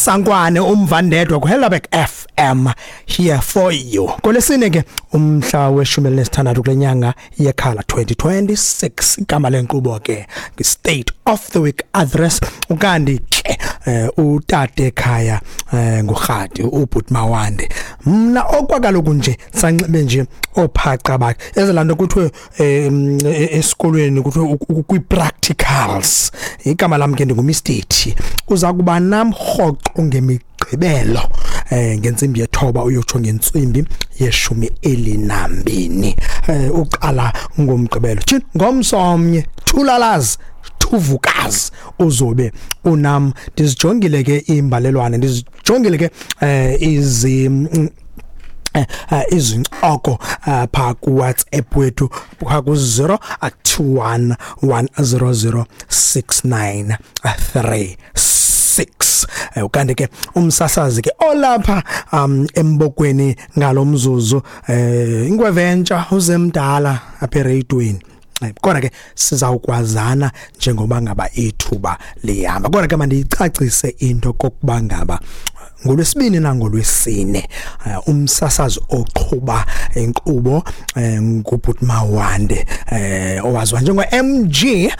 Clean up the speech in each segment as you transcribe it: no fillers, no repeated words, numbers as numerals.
Sankwane umvandedwa kuHellerberg FM here for you. Kolesine ke umhla weshumi elinesithandathu kule nyanga yekhala 2026, igama lenkqubo ke State of the Week Address. Ukanti ke utate ekhaya ngurhadi ubhuti Mawande. Mna okwakaloku nje sanxibe nje ophaca bakhe ezelanto kuthiwe esikolweni kuthiwe kwi-practicals. Igama lam ke ndinguMr T. Uza kuba nam rhoqo ngemigqibelo ngentsimbi yethoba uyotsho ngentsimbi yeshumi elinambini, uqala ngomgqibelo tshini ngomsomnye thulalazi thuvukazi uzobe unam. Ndizijongile ke imbalelwane, ndizijongile ke izincoko pha ku WhatsApp wethu pha ku 021 100 6936. Ukanti ke umsasazi ke olapha embokweni ngalomzuzu ingweventsha uzemdala apha ereyidweni. Kodwa ke sizawukwazana njengoba ngaba ithuba lihamba. Kodwa ke mandiyicacise into kokuba ngaba ngolwesibini nangolwesine umsasazi oqhuba inkqubo ngubhuti Mawande owaziwa njengo-MG,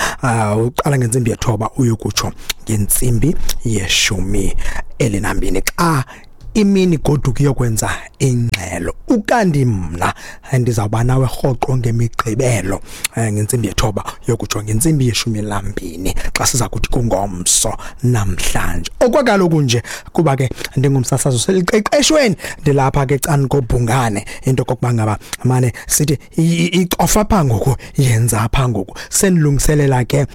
uqala ngentsimbi yethoba uyokutsho ngentsimbi yeshumi elinambini xa imini goduka iyokwenza ingxelo. Ukanti mna ndizawuba nawe rhoqo ngemigqibelo ngentsimbi yethoba yokutsho ngentsimbi yeshumi lambini xa siza kuthi kungomso namhlanje. Okwakaloku nje kuba ke ndingumsasazi oseliqeqeshweni, ndilapha ke cani kobhungane into kokuba ngaba mane sithi icofa pha ngoku, yenza pha ngoku, sendilungiselela ke.